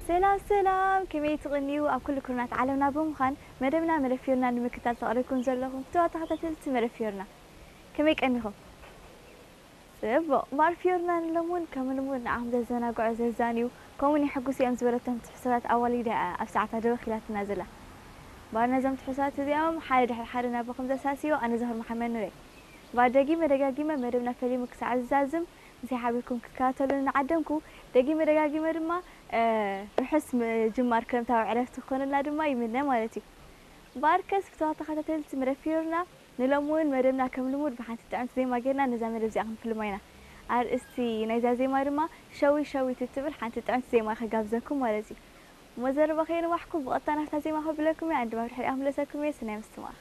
ሰላም ሰላም፣ ከመይ ትቕንዩ? ኣብ ኩሉ ኩርናት ዓለምና ብምዃን መደብና መደብ ፊዮርና ንምክታል ተቐሪብኩም ዘለኹም ፍትዋት ተኸታተልቲ መደብ ፊዮርና፣ ከመይ ቀኒኹም? ጽቡቕ። እምበኣር ፊዮርና ንሎምውን ከም ልሙድ ንዓኹም ዘዘናግዑ፣ ዘዛንዩ፣ ከምኡውን የሐጉሱ እዮም ዝበለቶም ትሕዝቶታት ኣዋሊዳ እያ ኣብ ሰዓታ ደው ኢላትና ዘላ። እምበኣር ነዞም ትሕዝቶታት እዚኦም ሓደ ድሕሪ ሓደ ናባኹም ዘሳስዮ ኣነ ዛህር መሓመድ ኑረይ። እምበኣር ደጊመ ደጋጊመ መደብና ፈሊሙ ክሳዕ ዝዛዝም ምሳይ ሓቢርኩም ክትከታተሉኒ እናዓደምኩ፣ ደጊመ ደጋጊመ ድማ፣ እ፣ ርሑስ ምጅማር ክረምታዊ ዕረፍቲ ክኾነልና ድማ ይምነ ማለት እዩ። እምበኣርከስ ፍትዋት ተኸታተልቲ መደብ ፊዮርና፣ ንሎሚ እውን መደብና ከም ልሙድ ብሓንቲ ጥዕምቲ ዜማ ጌርና ነዛ መደብ እዚኣ ክንፍልማ ኢና። ኣርእስቲ ናይዛ ዜማ ድማ ሸዊት ሸዊት እትብል ሓንቲ ጥዕምቲ ዜማ ከጋብዘኩም ማለት እዩ። እሞ ዘረባ ከየንዋሕኩም ብቐጥታ ናብታ ዜማ ከብለኩም እየ፣ ኣንድማ ብድሕሪኣ ክምለሰኩም እየ። ሰናይ ምስትምቓር።